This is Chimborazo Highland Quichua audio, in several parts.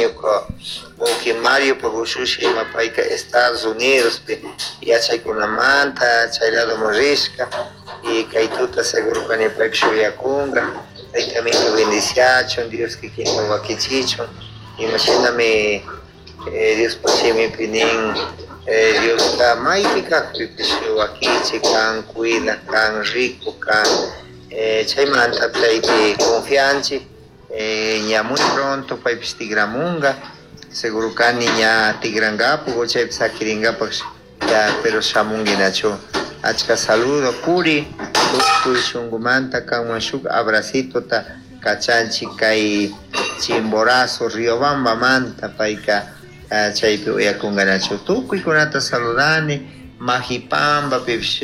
Ñuka wawqi Mariopak ushushi ima payka Estados Unidospi yachaykunamanta chay ladoman rishka y kay tuta seguro kani paypish uyakunka. Tayta Amito bendiciachun, Dios kikinwan wakichichun, imashinami Diospak shimipi nin, Dioska maypi kakpipish wakichi kan, cuidak kan, rikuk kan. Chaymanta chaypi confianchik, ña muy pronto paypish tigramunga, seguro kani ña tigrangapak o chaypi saquiringapak ya, pero shamunguinachu. Achka saludo Curi, tukuy shunkumanta kanman shuk abracitota kachanchik kay Chimborazo, Riobambamanta, payka chaypi uyakunkanachu. Tukuykunata saludani, Majipambapipish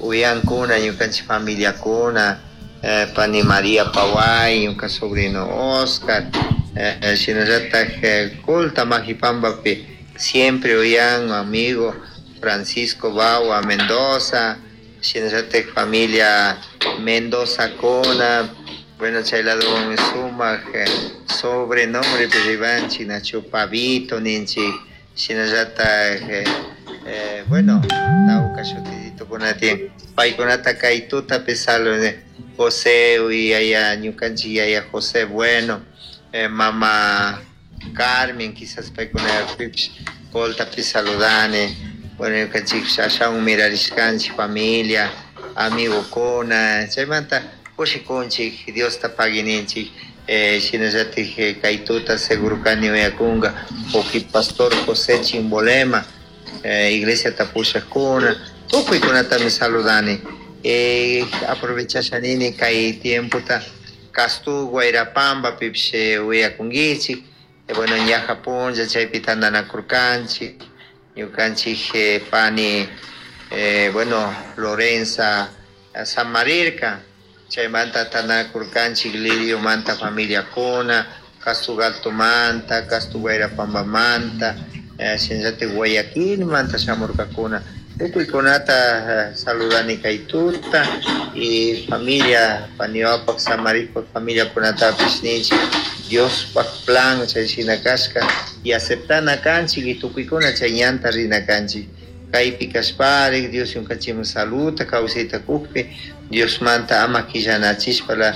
uyankuna ñukanchik familiakuna, pani María Paway, ñuka sobrino Oscar, shinallatak Colta Majipambapi siempre uyan amigo Francisco Bawa Mendoza, shinallatak familia Mendoza kuna, bueno, chay ladowanmi sumak sobrenombre ribanchik nachu Pavito ninchik, shinallatak bueno, tawka shutitokuna tiyan, paykunata kay tutapi saludani, José yaya ñukanchik yaya José Bueno, mama Carmen, quizás paykunapipish Coltapi saludani, bueno, ñukanchikpish ashawan mirarishkanchik familia, amigokuna, chaymanta kushikunchik, Diosta paguininchik, shinallatik kay tuta seguro kani uyakunka wawqi pastor José Chimbolema, iglesiata pushakuna, tukuykunatami saludani. Aprovechasha nini kay tiempota Castu Guairapambapipish uyakunkichik, bueno, ñaja punlla chaypi tandanakurkanchik, ñukanchik pani, bueno, Lorenza samarirka, chaymanta tandanakurkanchik Liriomanta familiakuna, Castugaltomanta, Castu Guairapambamanta, shinallatik Guayaquilmanta shamurkakuna, tukuykunata saludani kay tuta y familia paniwapak samarikpak familiakunatapish ninchik Diospak plan chay shina kashka y aceptana kanchik y tukuykuna chay ñanta rina kanchik. Kaypi kashparik Dios ñukanchikman saludta kawsayta kukpi Diosmanta ama quillanachishpala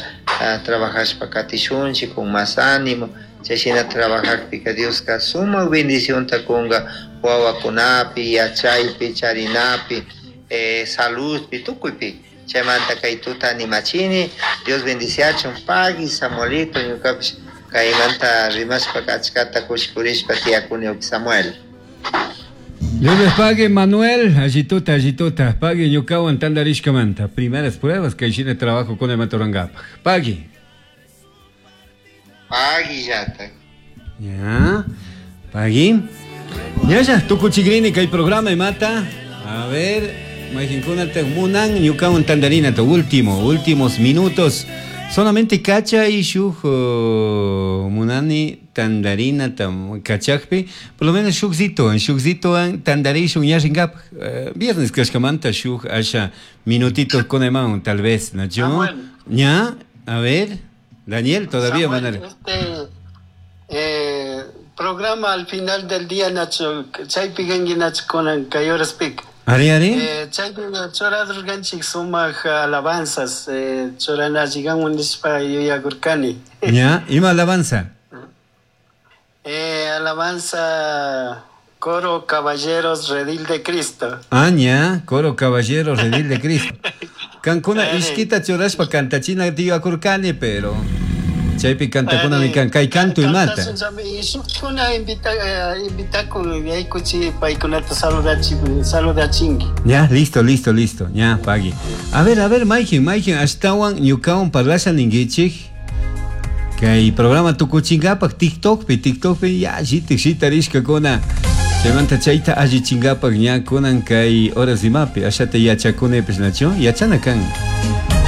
trabajashpa katishunchik con más ánimo, chay shina trabajakpika Dioska sumak bendicionta kunka wawakunapi, yachaypi, charinapi, saludpi, tukuypi. Chaymanta kay tuta animachini, Dios bendiciachun, pagui Samuelito, ñukapish kaymanta rimashpa achkata kushikurishpa tiyakuni Samuel. Dios les pague, Manuel. Allituta, allituta. Pague ñukawan tandarishkamanta. Primeras pruebas que hiciste trabajo con el Matorangapa. Pague. Pague yata. Ya. Pague. Ya, ya. Tukuchigrini kay programa y mata. A ver. Majinkuna te munan ñukawan tandarina to último, últimos minutos. Solamente cacha y shuj munani tandarina tam kachakpi, por lo menos shukzito, en shukzito an tandari shuk ñaringap, viernes kashkamanta shuk asha minutitos con emaun, tal vez, ¿no? Yo, ña, a ver, Daniel, todavía Samuel, van a este programa al final del día, Nacho, chaypi gangi Nacho con kay horas pic. Ari, ari. Chaypi churadurganchik sumaq alabanzas, churanachiganwan nishpa yuyagurkani. Ya, ima alabanza? Alabanza Coro Caballeros Redil de Cristo. Ah, ya, Coro Caballeros Redil de Cristo. Kankuna ishkita churashpa kantachina tiyagurkani, pero chaypi kantakuna mi kan, kay canto y mata. Shukuna invitakun yaykuchi paykunata saludachinki. Ya, listo, listo, listo. Ya, pagui. A ver, Maikin, Maikin, ashtawan ñukawan parlasha ninkichik. Kay programa tukuchingapak TikTokpi, TikTokpi, ya, shitik, shitarishkakuna. Chaymanta chayta allichingapak ña kunan kay horas imapi, ashata yachakunipis nachu, yachana kan.